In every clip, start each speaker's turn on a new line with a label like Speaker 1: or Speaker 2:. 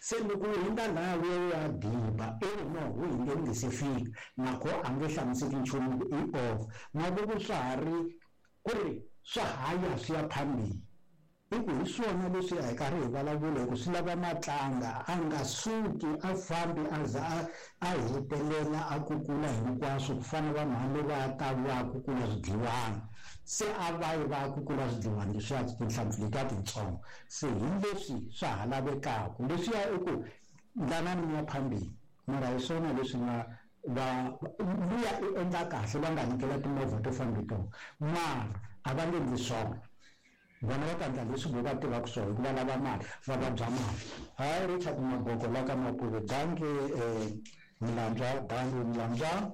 Speaker 1: Se loko u hundza laya u ya u ya diba, i ri no wu hindze wu nge se fika, nakho a nge hlamuseki nchumu ku i off. Na loko swa ha ri ku ri swa ha ya swi ya phambili, i ku hi swona leswi a hi karhi hi vulavula hi ku swi lava matlanga, a nga suki a fambi a za a a hetelela a kukula hinkwaswo ku fana na vanhu va le va ta va kukula swidliwana. Se a va yi va ya kukula swidliwana leswiya tinhlampfi letiya tintsongo. Se hi leswi swa ha lavekaka. Leswiya i ku ndlanani mi ya phambili, mara hi swona leswi nga va luya i endla kahle va nga nyikela timovha to famba hi tona, mara a va nge endli swona. Vona va ta endla leswi vo va tivaka swona hikuva lava mali, va vabya mali. Hayi Richard Maboko la ka Mapuve, dankie Mlandzwa, dankie Mlandzwa.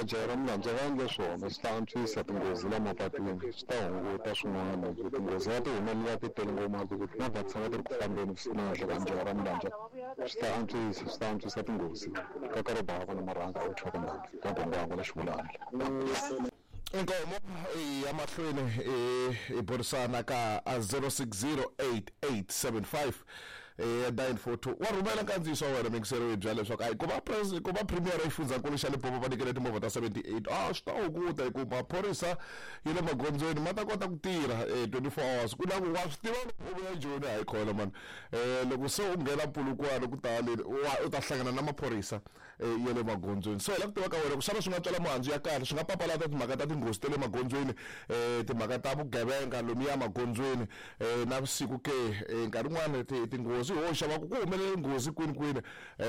Speaker 2: Jaha ra Mlandzwa va endle swona swi ta antswisa tinghozi la mapatwini swi ta hunguta swin'wana hi ku tinghozi a ti humelela ti tele ngopfu mara loko timovha ti tshama ti ri ku fambeni vusiku na nhlikani jaha ra Mlandzwa swi ta antswisa swi ta antswisa tinghozi ka karobava na marhanga a wu thyaka ndhambi ka Gwangwangwa na Xivulana.
Speaker 3: Inkomo ya mahlweni hi burisana ka 06088759 942 wa rhumela nkandziyiso wa wena mingisero yi byela leswaku ayi ku va ku va premier ya xifundzankulu xa Limpopo va nyikele timovha ta 78 a swi ta hunguta hi ku maphorisa ya le magondzweni ma ta kota ku tirha 24 hours ku na ku wa swi tiva loko u vuya Joni hayi khona mani loko se u nghena Polokwane ku ta le u ta hlangana na maphorisa ya le magondzweni. So hi lava ku tiva ka wena ku xana swi nga tswala mihandzu ya kahle, swi nga papalata timhaka ta tinghozi ta le magondzweni, timhaka ta vugevenga lomuya magondzweni navusiku ke? Nkarhi wun'wani tinghozi ho xava ku ku humelele nghozi kwini kwini.